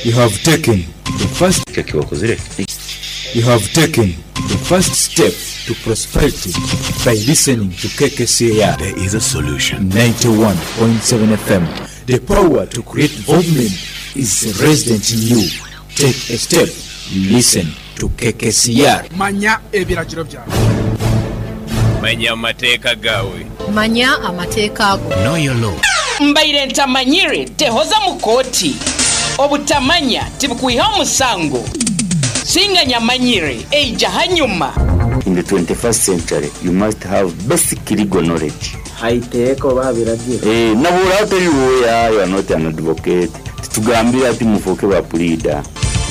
You have taken the first You have taken the first step to prosperity by listening to KKCR. There is a solution. 91.7 FM. The power to create development is resident in you. Take a step. Listen to KKCR. Manya ebiragiro byawe. Manya amateeka gaawe. Manya amateeka go. Know your law. Mbaire ntamanyire tehoza mu kooti. Obutamanya tibukwihaho musango. Singa nyamanyire eija hanyuma. In the 21st century, you must have basic legal knowledge. Haiteeka oba habiragiro. Eh, nabura otari lawyer, you are not an advocate. Titugambira ati mufoke ba pleader.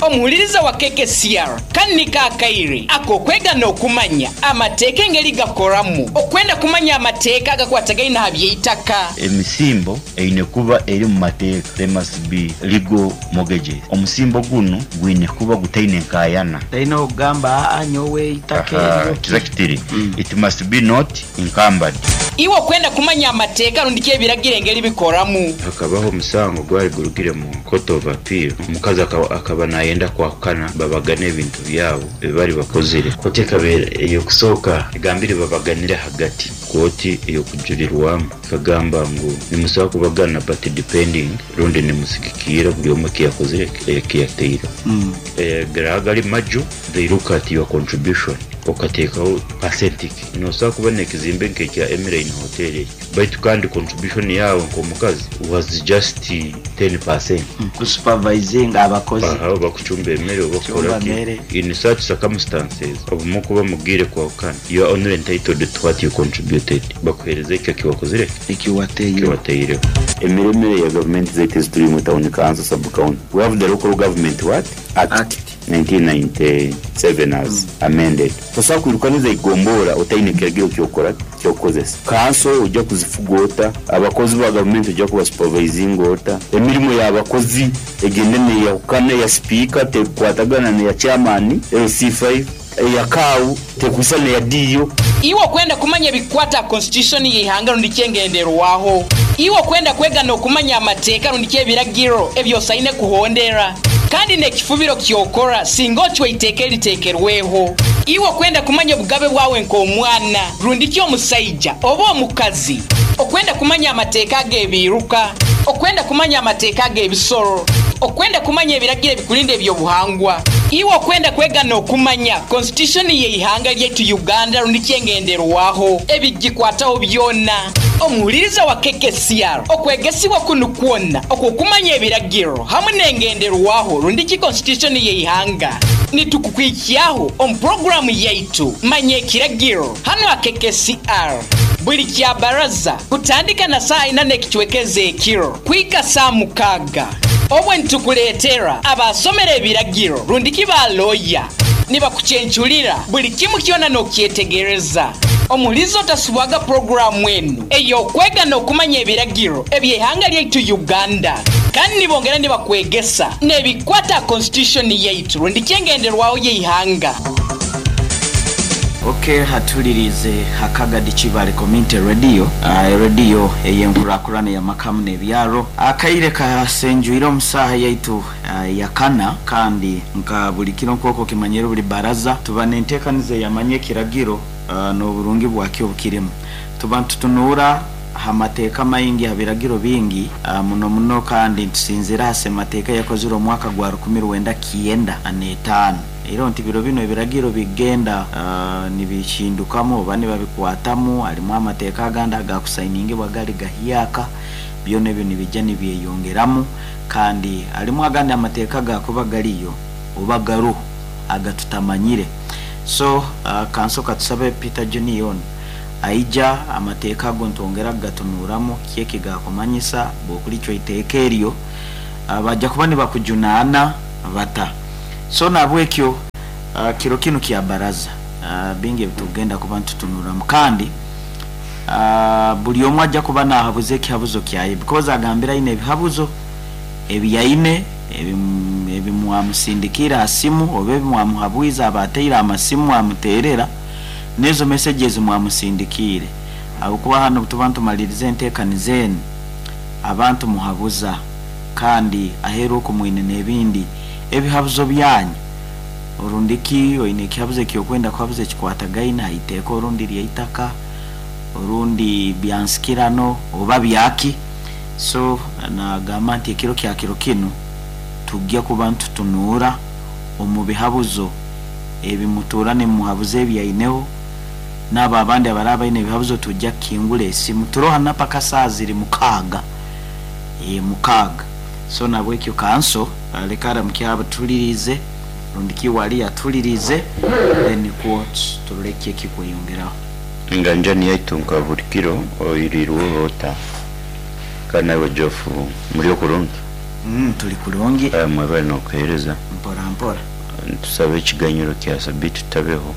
Omuhuliriza wa KKCR kandi kaakaire akokwega n'okumanya amateeka engeri gakoramu okwenda kumanya amateeka agakwatagaine aha by'eitaka. Emisimbo eine kuba eri mu mateeka, there must be legal mortgages. Omusimbo gunu gwine kuba gutaine nkayana. Taine okugamba aa nyowe eitaka Aha, eryo. Exactly. It must be not encumbered. Iwe okwenda kumanya amateeka rundi ki ebiragiro engeri bikoramu. Hakabaho omusango gwali gurugire mu court of appeal, omukazi akaba nayenda kwahukana babagane ebintu byabo ebibari bakozire. Kooti ekabeera ey'okusooka egambire babaganire hagati. Kooti ey'okujurirwamu ekagamba ngu nimusobola kubagana but depending rundi nimusigikira buri omwe ekiyakozire ekiyateireho. Gari maju, they look at your contribution okateekaho percentage. Nosobola kuba n'ekizimbe nk'ekya Emirine Hotel ekyo, baitu kandi contribution yawe nk'omukazi was just 10%. Kusupervising abakozi. Aha, bakucumba emmere oba Kucumba kukola ki. emmere. In such circumstances, obumu kuba mugiire kwahukana, you are only entitled to what you contributed. Bakuheereza ekyo ekiwakozire, Ekiwateireho. Ekiwateireho. Emiremere ya gavumenti zaitu eziturimu, town council, sub county. We have the Local Government what? Act. Act. 1997 as amended. Tosobola kwirukaniza igombora otaine kiragiro kyokora kyokukozesa. Kanso ojja kuzifuga ota, abakozi ba gavumenti ojja kubasupervisinga ota, emirimu y'abakozi egende neyahukana, eya sipiika tekukwatagana neya chairman LC5, eya kaawu tekwisa neya DO. Iwe okwenda kumanya ebikwata constitution y'eihanga rundi kyengenderwaho. Iwe okwenda kwega n'okumanya amateeka rundi ky'ebiragiro ebyosaine kuhondera. Kandi n'ekifubiro kyokora singa ocwa iteeka eriteekerweho. Iwe okwenda kumanya obugabe bwawe nk'omwana rundi ki omusaija oba omukazi. Okwenda kumanya amateeka ag'ebiiruka, okwenda kumanya amateeka ag'ebisoro, okwenda kumanya ebiragiro ebikulinda ebyobuhangwa. Iwe okwenda kwega n'okumanya constitution y'eihanga lyaitu Uganda rundi kyengenderwaho ebigikwataho byona. Omuhuliriza wa KKCR okwegesibwa kunu kwona okwokumanya ebiragiro hamwe n'engenderwaho rundi ki constitution y'eihanga nitukukwikyaho omu puroguramu yaitu Manya Ekiragiro hano ha KKCR buli kya baraza kutandika na saa ina n'ekicwekeza ekiro kwika saa 6. Obwe nitukuleetera abasomera ebiragiro rundi ki baloya nibakuchenchulira buli kimu kyona n'okyetegereza. Omulizo otasubwaga puroguramu enu ey'okwega n'okumanya ebiragiro eby'eihanga lyaitu Uganda, kandi nibongera nibakwegesa n'ebikwata constitution yaitu rundi kyengenderwaho y'eihanga. Okay, hatulirize Hakagadi Kibale Community Radio, radio ey'enkurakurana ya makamu n'ebyaro. Akaire kasenjuire omu saaha yaitu yakana, kandi nka buli kiro nk'okwo kimanyire buli baraza tuba n'enteekaniza eyamanya ekiragiro n'oburungi bwakyo obukirimu. Tuba nitutunuura ha mateeka maingi, ha biragiro bingi, muno muno, kandi ntusinzira ha semateeka yakozire omwaka gwa 1995. Era nti biro bino ebiragiro bigenda nibihindukamu oba nibabikwatamu, harimu amateeka agandi agakusainingibwa gali gahyaka, byona ebyo nibijja nibyeyongeramu, kandi harimu agandi amateeka gakuba gariyo oba garuho agatutamanyire. So kansoka tusabe Peter Junior aija amateeka ago ntwongera kugatunuramu kyeki gakumanyisa bw'okulicwa iteeka eryo, bajja kuba nibakujunaana bata. So nabwekyo kiro kinu kya baraza, bingi ebitugenda kuba ntutunuramu, kandi buli omwe ajja kuba nahabuza ekihabuzo kyaye, because agambira aine ebihabuzo ebyaine ebimwamusindikira ha simu oba ebimwamuhabwiza abateire amasimu amuterera n'ezo messages mwamusindikiire. Ahabwokuba hano tuba ntumaliriza enteekaniza enu, abantu muhabuza Kandi aheeru oku mwine n'ebindi ebihabuzo byanyu, orundi ki oine ekihabuzo ekyokwenda kuhabuza ekikwatagaine ha iteeka orundi lyaitaka, orundi byansikirano oba byaki. So nagamba nti ekiro kya kiro kinu tujja kuba nitutunuura omu bihabuzo ebi mutuura nimuhabuza ebyaineho, n'abo abandi abaraba baine ebihabuzo tujja kukingura esimu. Turoha napaka saa ziri 6. 6. So nabwekyo kanso leka aramukye abatulirize rundi ki wali atulirize, then nikwo turole ki ekikweyongeraho. Enganjani yaitu nka buri kiro oirirweho ota? Kandi naiwe Geoff muri okurungi? Turi kurungi. Mwebale n'okuheereza. Mpora mpora. Nitusaba ekiganyiro kya sabiiti tutabeho.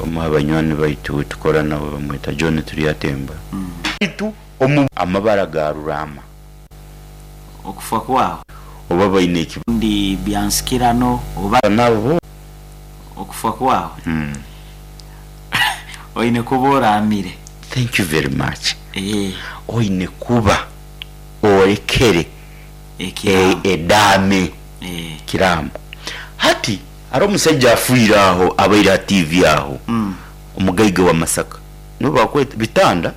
Omu ha banywani baitu ou tukora nawe bamweta John Turyatemba. Baitu omu amabara ga Rurama. Okufa kwawe. Oba baine eki. Rundi byansikirano oba. Nabo. Okufa kwawe. Oine kuba oraamire. Thank you very much. Oine kuba orekere edaame, ekiraamo. Hati hariho omusaija afiire aho abaire ha TV aho, omugaiga wa Masaka, niwe bakweta Bitanda?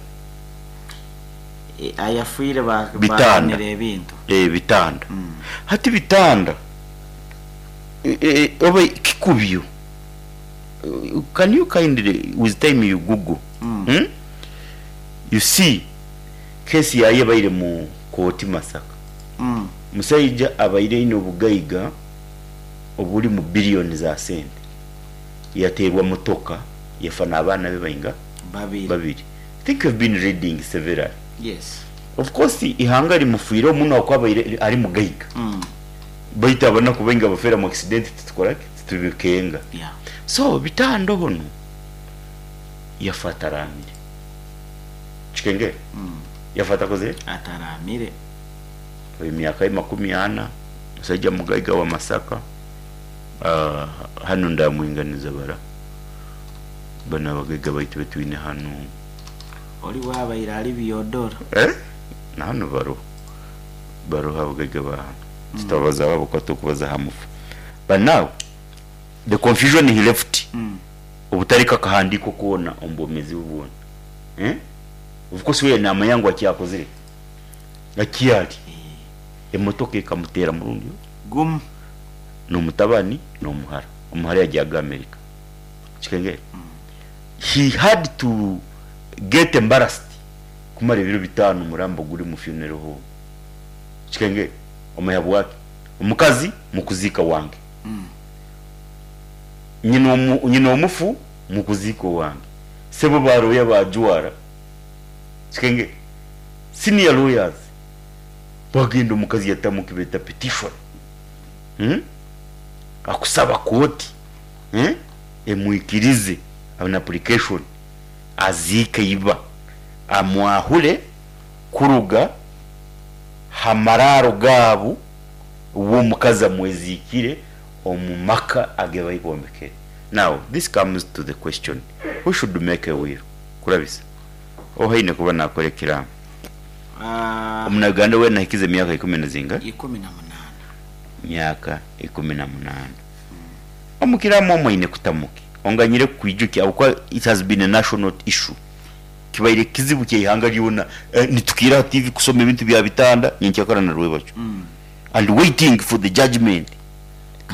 Ayafiire Bitanda. Bahanire ebintu. Bitanda. Hati Bitanda oba Kikubyo, can you kindly with time you google, you see case yaye ebaire mu kooti Masaka. Musaija abaire aine obugaiga oburi mu billion za sente, yateerwa motoka yafa n'abaana be bainga? Babiri. Babiri. I think you've been reading severally. Yes. Of course ihanga rimufiireho muno ahabw'okuba abaire ari mugaiga. Baitu abanaku baingi abafeera mu accident titukoraki? Titubikenga. Yeah. So Bitanda onu yafa ataraamire. Kikengere? Yafa atakozire ki? Ataraamire. Emyaka ye 40, musaija mugaiga wa Masaka. Hanu ndamwinganiza bara banu abagaiga baitu betwine hanu. Ori bwabaire ari Byodoro. Na hanu baroho. Baroho abagaiga ba hanu. Tutabazaho ahabw'okuba turikubaza aha mufu. But now, the confusion he left, obutareka akahandiiko koona omu bwomeezi bwe bwona. Of course we naamanya ngu akyakozire ki? Akyari. Emotoka ekamuteera murundi gumu. N'omutabani n'omuhara. Omuhara yagyaga America. Kikengere? He had to get embarrassed kumara ebiro bitaano omurambo guri omu funeral home. Kikengere? Omanya habwaki? Omukazi mukuziika wange. Nyina nyina omufu mukuziika owange. Sebo ba lawyer bajwara. Kikengere? Senior lawyers bagenda omukazi yatamu ekibeta petition. Akusaba kooti emwikirize an application aziike iba amwahure kuruga ha maraaro gaabu uwe omukazi amweziikire omu maka age baibombekere. Now this comes to the question, who should make a will? Kurabisa oha aine kuba nakora ekiraamo? Omunauganda weena ahikize emyaka ikumi na zinga? 18. Myaka 18. Omu kiraamo omu aine kutamu ki? Onganyire kukwijukya ahabw'okuba it has been a national issue. Kibaire kizibu ky'eihanga ryona. Nitukiira aha TV kusoma ebintu bya Bitanda nyenkyakara na rwebakyo. And waiting for the judgement.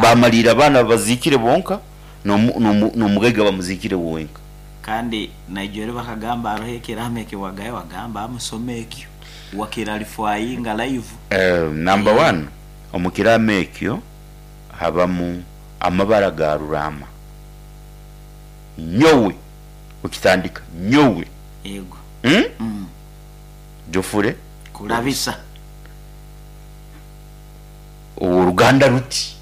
Baamariire abaana babaziikire bonka n'omugaiga bamuziikire wenka. Kandi naijweri bakagamba haroho ekiraamo ekiwagayo wagamba amusome ekyo wakiralifwayinga live. Number one, omu kiraamo ekyo habamu amabara ga Ruraama. Nyowe, okitandika, nyowe. Ego. Jofure. Kurabisa. Ow'oruganda ruti.